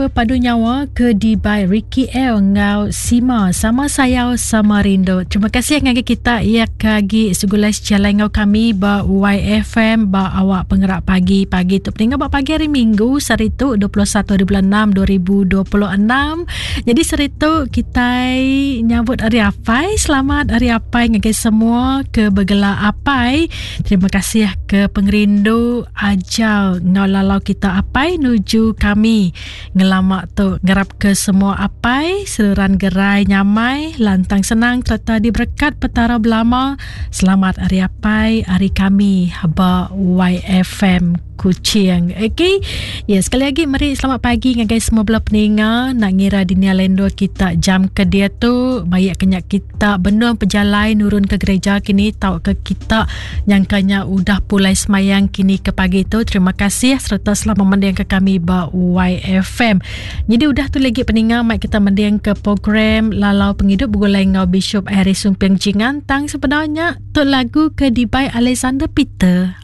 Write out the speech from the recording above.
Bepadu Nyawa ke dibai Ricky L enggau Sima Sama Sayau Sama Rindu. Terima kasih ngagai kita iya ke agi segulai sejalai enggau kami ba YFM ba awak pengerak pagi pagi tu peninga ba pagi hari Minggu sehari tu 21 hari bulan 6 2026. Jadi sehari tu kitai nyambut hari apai. Selamat hari apai ngagai semua ke begela apai. Terima kasih ke pengerindu ajar enggau lalau kita apai nuju kami ngelama tu. Ngarap ke semua apai seruran gerai nyamai, lantang senang sereta diberekat Petara belama. Selamat Hari Apai ari kami ba YFM Kuching. Okey. Ya, sekali lagi meri selamat pagi ngagai semua bala peninga nak ngira dini alai endur kita jam ke diatu baik ke nya kita benung pejalai nurun ke gereja kini tauka kita nyangka nya udah pulai semayang kini ke pagi tu. Terima kasih sereta selamat mending ke kami ba YFM. Nyadi udah tu lagi peninga mai kita mending ke program Lalau Pengidup begulai enggau Bishop Harry Sumping Jingan tang sebenarnya tu lagu ke dibai Alexander Peter.